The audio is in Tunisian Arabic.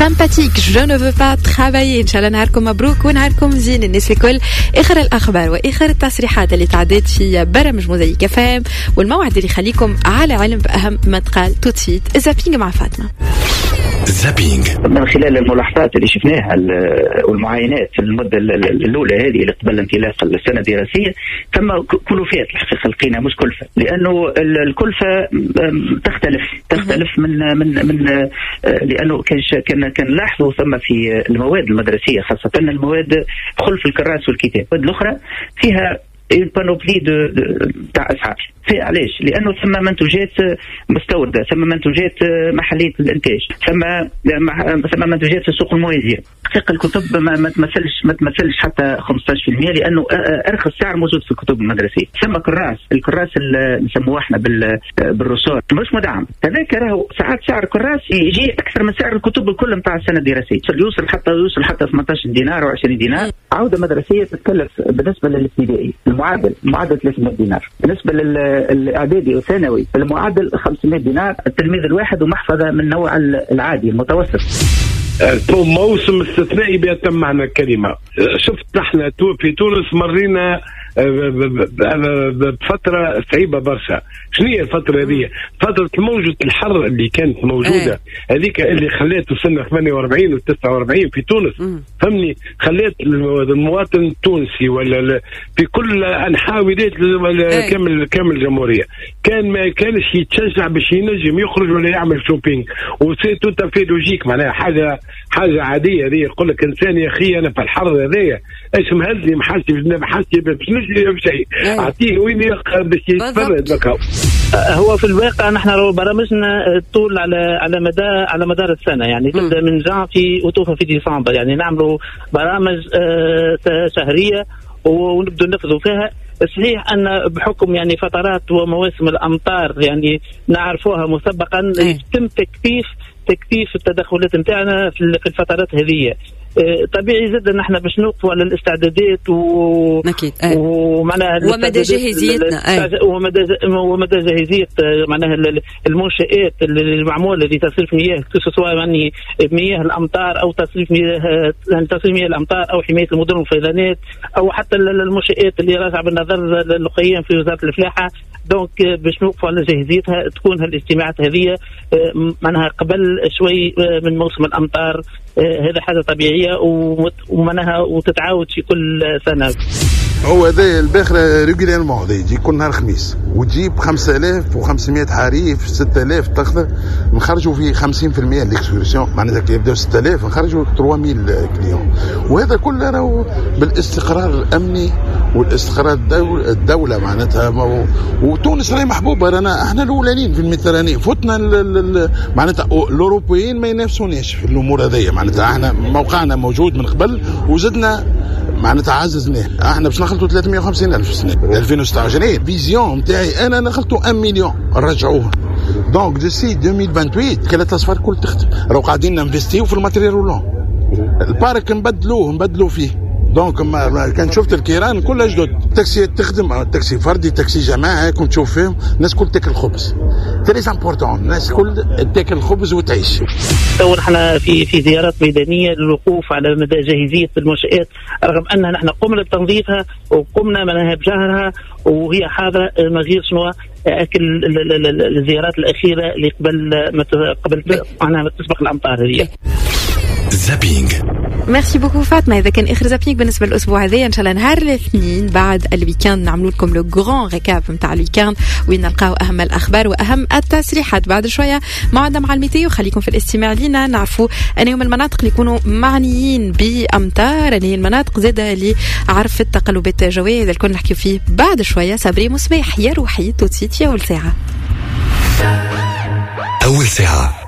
Sympathique، je ne veux pas travailler. ان شاء الله نهاركم مبروك ونهاركم زين الناس الكل. اخر الاخبار واخر التصريحات اللي تعدت في برامج موزايك FM والموعد اللي يخليكم على علم باهم ما تقال. tout de suite zapping مع فاطمه. zapping. من خلال الملاحظات اللي شفناها والمعاينات في المدة الاولى هذه اللي قبل انطلاق السنة الدراسيه، ثم كلفات الحقيقة لقينا، مش كلفه، لانه الكلفة تختلف من لانه كان لاحظوا ثم في المواد المدرسيه، خاصة المواد خلف الكراس والكتاب، المواد الاخرى فيها une panoplie de تاع اسعار. في علاش؟ لانه ثم منتوجات مستورده، ثم منتوجات محليه الانتاج، ثم منتوجات في السوق الموازيه. حقيقة الكتب ما تمثلش حتى 15%، لانه ارخص سعر موجود في الكتب المدرسيه. ثم الكراس اللي نسموه احنا بال ressort مش مدعم، هذاك راهو ساعات سعر الكراس يجي اكثر من سعر الكتب الكل نتاع السنة الدراسيه، يوصل حتى 18 دينار و20 دينار. عوده مدرسيه تتكلف بالنسبة للابتدائي المعدل 300 دينار، بالنسبة للاعدادي والثانوي المعدل 500 دينار التلميذ الواحد، ومحفظه من نوع العادي المتوسط. موسم استثنائي بأتم معنى الكلمة. شفت نحن في تونس مرينا بفترة صعيبة برشا. شنو هي الفترة هذه؟ فترة موجة الحر اللي كانت موجودة هذيك اللي خلات وصلنا 48 و 49 في تونس، فهمني؟ خلات المواطن التونسي ولا في كل انحاء ولايات كامل الجمهورية كان ما كانش يتشجع باش ينجم يخرج ولا يعمل shopping، و c'est tout à fait logique، معناها حاجه عادية هذه. يقول لك انسان يا اخي انا في الحر هذايا ايش مهزني، محاسي باش نشري شيء، اعطيه وين باش يتفرج. هو في الواقع نحن برامجنا طول على مدار السنه، يعني تبدا من جانفي وتوفى في ديسمبر، يعني نعملوا برامج شهرية ونبدو ننفذوا فيها. صحيح ان بحكم يعني فترات ومواسم الامطار يعني نعرفوها مسبقا، يتم تكثيف التدخلات نتاعنا في الفترات هذه. طبيعي جدا نحن باش نوقفوا على الاستعدادات و اكيد ومعناها ومدى جاهزيتنا. ومدى جاهزية معناها المنشآت المعموله لتصريف مياه، سواء يعني مياه الامطار او تصريف مياه، يعني تصريف مياه الامطار او حماية المدن والفيضانات او حتى المنشآت اللي راجعه بالنظر للقيام في وزارة الفلاحه. donc باش نوقفوا على جاهزيتها تكون هالاجتماعات هذه معناها قبل شوي من موسم الامطار. هذا حاجة طبيعية ومعناها وتتعاود في كل سنه. هو هذا الباخرة régulièrement يجي كل نهار خميس وتجيب 5500 حريف، 6000 تاخذ، نخرجوا في 50% l'excursion، معناتها كي يبداو 6000 نخرجوا 3000 clients. وهذا كله راهو بالاستقرار الامني والاستقرار الدولة معناتها، وتونس راهي محبوبه، رانا احنا الاولانيين في ال Méditerranée، فتنا معناتها الاوروبيين ما ينافسوناش في الامور هذيا. معناتها احنا موقعنا موجود من قبل وزدنا معناتها عززناه. احنا باش نخلطوا 350 الف سنة 2026، vision نتاعي انا نخلطوا 1 مليون نرجعوه. donc d'ici 2028 وكالات الاسفار كل تخدم. راهو قاعدين ننفستيو في ال matériel roulant، ال parc نبدلوه فيه. donc ما كان شفت الكيران كلها جدد، تاكسي تخدم، تاكسي فردي، تاكسي جماعي، كنت تشوف فيهم الناس كل تاكل خبز، très important، الناس كل تاكل خبز وتعيش. تو نحن في زيارات ميدانية للوقوف على مدى جاهزية المنشات، رغم ان نحن قمنا بتنظيفها وقمنا معناها بجهرها وهي حاضره، ما غير شنو اكل الزيارات الاخيرة اللي قبل ما قبل معناها تسبق الامطار هذه. zapping. merci beaucoup فاطمه. هذا كان اخر zapping بالنسبة للاسبوع هذا. ان شاء الله نهار الاثنين بعد ال week-end نعملوا لكم le grand récap نتاع ال week-end وين نلقاو اهم الاخبار واهم التصريحات. بعد شوية موعدنا مع ال météo، خليكم في الاستماع لينا، نعرفوا أن هم المناطق اللي يكونوا معنيين بامطار، أن هي المناطق زاده اللي عرفت تقلبات جوية. هذا الكل نحكيو فيه بعد شويه. صبري مصباح، يا روحي، tout de suite في اول ساعه. أول ساعة.